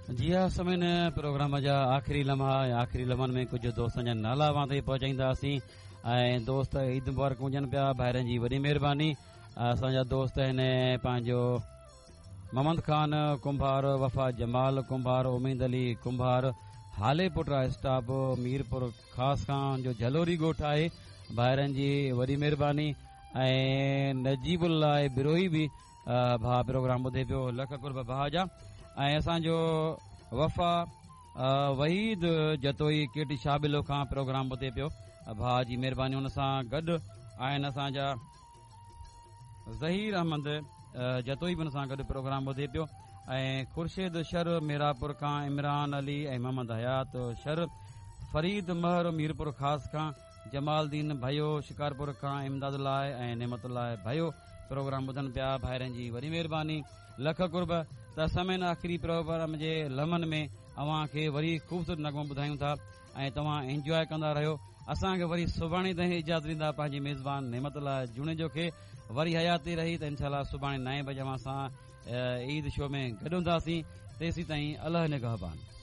جي ها سامعين پروگرام جا آخري لمحا ۽ آخري لمحن ۾ ڪجهه دوستن جا نالا اوهان تائين پهچائينداسين ۽ دوست عيد مبارڪون ڏين پيا ڀائرن جي وڏي مهرباني اسان جا دوست آهن پنهنجو محمد خان ڪنڀار وفا جمال ڪنڀار اميد علي ڪنڀار هاليپوٽا اسٽاپ ميرپور خاص کان جو جهلوري ڳوٺ آهي ڀائرن جي وڏي مهرباني ۽ نجيب الله بروهي به ڀاء پروگرام ٻڌي پيو لک قرب ڀاء جا ۽ اسان جو وفا وحيد جتوئي ڪيٽي شاهه کان پروگرام ٻڌي پيو ڀاء جي مهرباني ان سان گڏ آهن اسان جا ظهير احمد جتوئي به ان سان گڏ پروگرام ٻڌي پيو ۽ خورشيد شر ميراپور کان عمران علي ۽ محمد حيات شر فريد مهر ميرپور خاص کان جمال دين ڀيو شڪارپور کان امداد الله ۽ نعمت الله ڀيو پروگرام ٻڌن پيا ڀائرن جي وڏي مهرباني لک قرب ته سامعين آخري پروگرام جي لمحن ۾ اوهان کي وري خوبصورت نغمو ٻڌايون ٿا ۽ توهان انجواء ڪندا رهيو اسان کي وري سڀاڻي تائين اجازت ڏيندا پنهنجي ميزبان نعمت الله جوڻيجو کي وري حياتي رهي ته انشاء الله سڀاڻي نائين بجي اوهان سان عيد شو ۾ گڏ هونداسين تيسين تائين الله نگهبان.